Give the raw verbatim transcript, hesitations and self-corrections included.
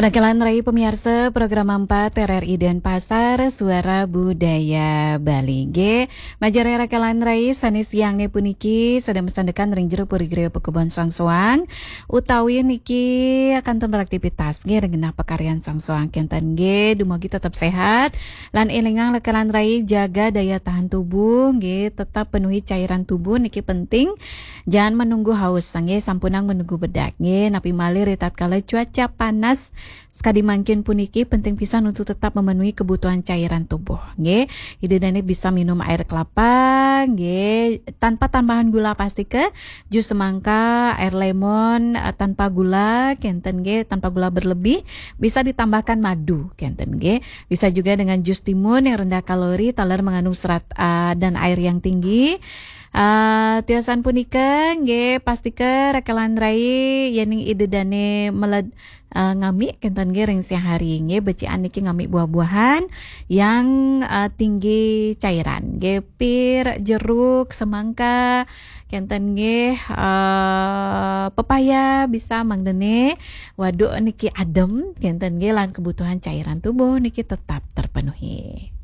Rakelan rai pamiarsa program empat R R I Denpasar, Suara Budaya Bali. Nggih, majeng rai rakelan rai, sané siangné puniki sedeng masandekan ring jero puri griya pakubon soang-soang, utawi niki kantun beraktivitas nggih ring genah pakaryan soang-soang kénten nggih, dumugi tetep séhat lan élingang rakelan rai, jaga daya tahan tubuh nggih, tetap penuhi cairan tubuh niki penting. Jangan menunggu haus, nggih, sampunang menunggu bedak, nggih. Napi malih ritatkala cuaca panas sekadi mangkin puniki, penting pisan untuk tetap memenuhi kebutuhan cairan tubuh, nggih. Ida dané bisa minum air kelapa, nggih, tanpa tambahan gula pastika, jus semangka, air lemon, eh, tanpa gula, kénten nggih, tanpa gula berlebih, bisa ditambahkan madu, kénten nggih. Bisa juga dengan jus timun yang rendah kalori, taler mengandung serat, eh, dan air yang tinggi. Ah, tiosan punika nggih, pastika rakelan rai yéning ida dané meled, ah, ngami kénten nggih ring siang hari nggih, becikan niki ngami buah-buahan yang, ah, tinggi cairan nggih, pir, jeruk, semangka, kénten nggih, ah, pepaya bisa mangdané waduk niki adem kénten nggih, lan kebutuhan cairan tubuh niki tetap terpenuhi.